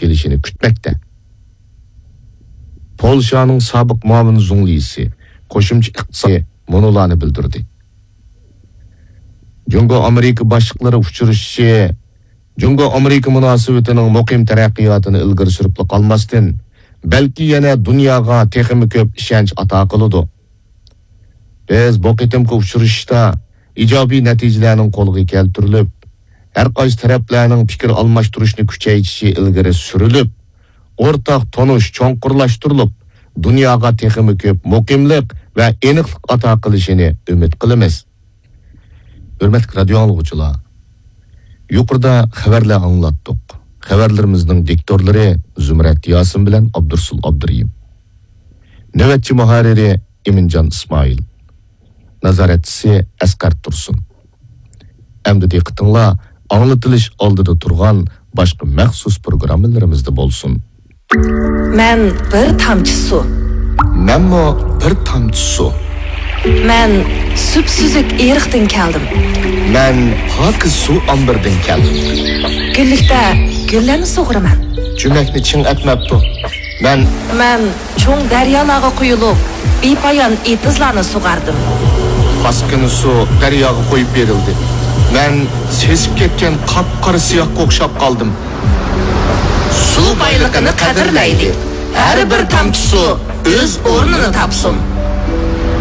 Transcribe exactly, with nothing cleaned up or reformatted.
كېلىشىنى كۈتمەكتە. پولشانىڭ سابىق مۇئاۋىن زۇڭلىسى قوشۇمچە ئىقتىسادى مۇنۇلارنى بىلدۈردى. جۇڭگو ئامېرىكا باشلىقلىرى ئۇچرىشىشى جۇڭگو ئامېرىكا مۇناسىۋىتىنىڭ مۇقىم تەرەققىياتىنى ئىلگىرى سۈرۈپلا قالماستىن، بەلكى يەنە دۇنياغا تېخىمۇ كۆپ ئىشەنچ ئاتا قىلىدۇ. بىز بۇ قېتىمقى ئۇچرىشىشتا ئىجابىي نەتىجىلەرنىڭ قولغا كەلتۈرۈلۈپ، ھەر قايسى تەرەپلەرنىڭ پىكىر ئالماشتۇرۇشنى كۈچەيتىشى ئىلگىرى سۈرۈلۈپ، ئورتاق تونۇش چوڭقۇرلاشتۇرۇلۇپ، دۇنياغا تېخىمۇ كۆپ مۇقىملىق ۋە ئېنىقلىق ئاتا قىلىشىنى ئۈمىد قىلىمىز. ھۆرمەتلىك رادىيو ئاڭلىغۇچىلار، يۇقىرىدا خەۋەرلەر ئاڭلاتتۇق. خەۋەرلىرىمىزنىڭ دىكتورلىرى زۇمرەت ياسىن بىلەن ئابدۇرسۇل ئابدۇرېھىم. نۆۋەتچى مۇھەررىرى ئىمىنجان ئىسمائىل. نازارەتچىسى ئەسقەر تۇرسۇن. ئەمدى دىققىتىڭلار ئاڭلىتىلىش ئالدىدا تۇرغان باشقا مەخسۇس پروگراممىلىرىمىزدا بولسۇن. مەن بىر تامچە سۇ. مەنمۇ بىر تامچە سۇ. مەن سۈپسۈزۈك ئېرىقتىن كەلدىم. مەن پاكىز سۇ ئامبىرىدىن كەلدىم. گۈللۈكتە گۈللەرنى سۇغۇرىمەن. جۈمەكنى چىڭ ئەتمەپتۇ. مەن مەن چوڭ دەريالارغا قۇيۇلۇپ، بىپايان ئېتىزلارنى سۇغاردىم. پاسكىنا سۇ دەرياغا قويۇپ بېرىلدى. مەن سېسىپ كەتكەن قاپقارا سىياھقا ئوخشاپ قالدىم. سۇ بايلىقىنى قەدىرلەيلى. ھەر بىر تامچە سۇ ئۆز ئورنىنى تاپسۇن.